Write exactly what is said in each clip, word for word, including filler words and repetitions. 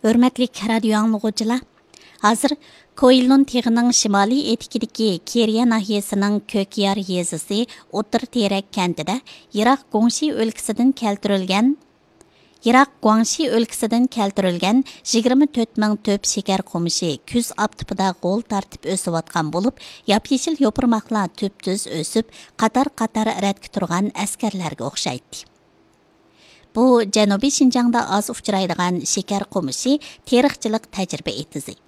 ھۆرمەتلىك رادىيو ئاڭلىغۇچىلار، ھازىر كوئىلۇن تېغىنىڭ شىمالىي ئېتىكىدىكى كېرىيە ناھىيەسىنىڭ كۆكيار يېزىسى ئوتتۇرا تېرەك كەنتىدە يىراق گۇاڭشى ئۆلكىسىدىن كەلتۈرۈلگەن، يىراق گۇاڭشى ئۆلكىسىدىن كەلتۈرۈلگەن يىگىرمە تۆت مىڭ تۆپ شېكەر قومۇشى كۈز ئاپتىپىدا غول تارتىپ ئۆسۈۋاتقان بولۇپ، ياپيېشىل يوپۇرماقلار تۈپتۈز ئۆسۈپ، قاتار-قاتار رەتكە تۇرغان ئەسكەرلەرگە ئوخشايتتى. بۇ جەنۇبىي شىنجاڭدا ئاز ئۇچرايدىغان شېكەر قومۇشى تېرىقچىلىق تەجرىبە ئېتىزى.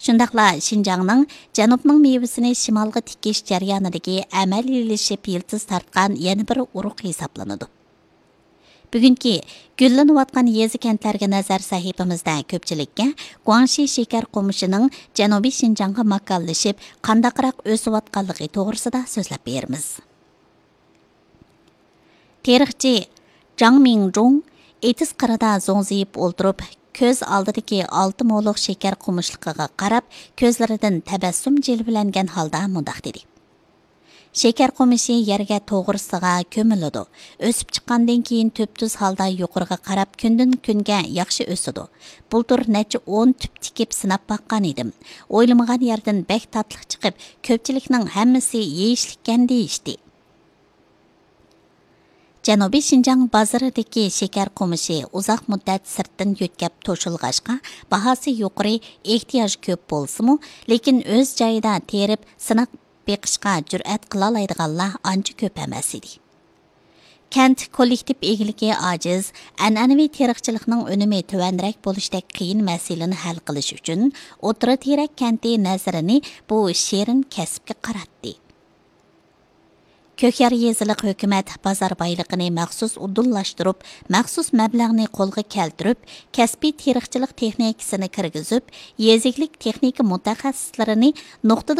شۇنداقلا شىنجاڭنىڭ جەنۇبنىڭ مېۋىسىنى شىمالغا تىكىش جەريانىدىكى ئەمەلىيلىشىپ يىلتىز تارتقان يەنە بىر ئۇرۇق ھېسابلىنىدۇ. بۈگۈنكى گۈللىنىۋاتقان يېزا-كەنتلەرگە نەزەر سەھىپىمىزدە كۆپچىلىككە گۇاڭشى شېكەر قومۇشىنىڭ جەنۇبىي شىنجاڭغا ماكانلىشىپ، قانداقراق ئۆسۈۋاتقانلىقى توغرىسىدا سۆزلەپ بېرىمىز. تېرىقچى جاڭ مىڭجۇڭ ئېتىز قىرىدا زوڭزىيىپ ئولتۇرۇپ، كۆز ئالدىدىكى ئالتە مولۇق شېكەر قومۇشلۇقىغا قاراپ، كۆزلىرىدىن تەبەسسۇم جىلۋىلەنگەن ھالدا مۇنداق دېدى: شېكەر قومۇشى يەرگە توغرىسىغا كۆمۈلىدۇ. ئۆسۈپ چىققاندىن كېيىن تۈپتۈز ھالدا يۇقىرىغا قاراپ كۈندىن كۈنگە ياخشى ئۆسىدۇ. بۇلتۇر نەچچە ئون تۈپ تىكىپ سىناپ باققان ئىدىم. ئويلىمىغان يەردىن بەك تاتلىق چىقىپ، كۆپچىلىكنىڭ ھەممىسى يېيىشلىككەن دېيىشتى. جەنۇبىي شىنجاڭ بازىرىدىكى شېكەر قومۇشى ئۇزاق مۇددەت سىرتتىن يۆتكەپ توشۇلغاچقا، باھاسى يۇقىرى، ئېھتىياج كۆپ بولسىمۇ، لېكىن ئۆز جايىدا تېرىپ سىناپ بېقىشقا جۈرئەت قىلالايدىغانلار ئانچە كۆپ ئەمەس ئىدى. كەنت كوللېكتىپ ئىگىلىكى ئاجىز، ئەنئەنىۋى تېرىقچىلىقنىڭ ئۈنۈمى تۆۋەنرەك بولۇشتەك قىيىن مەسىلىنى ھەل قىلىش ئۈچۈن، ئوتتۇرا تېرەك كەنتى نەزىرىنى بۇ شېرىن كەسىپكە قاراتتى. كۆكيار يېزىلىق ھۆكۈمەت بازار بايلىقىنى مەخسۇس ئۇدۇللاشتۇرۇپ، مەخسۇس مەبلەغنى قولغا كەلتۈرۈپ، كەسپىي تېرىقچىلىق تېخنىكىسىنى كىرگۈزۈپ، يېزا ئىگىلىك تېخنىكا مۇتەخەسسىسلىرىنى نۇقتىدا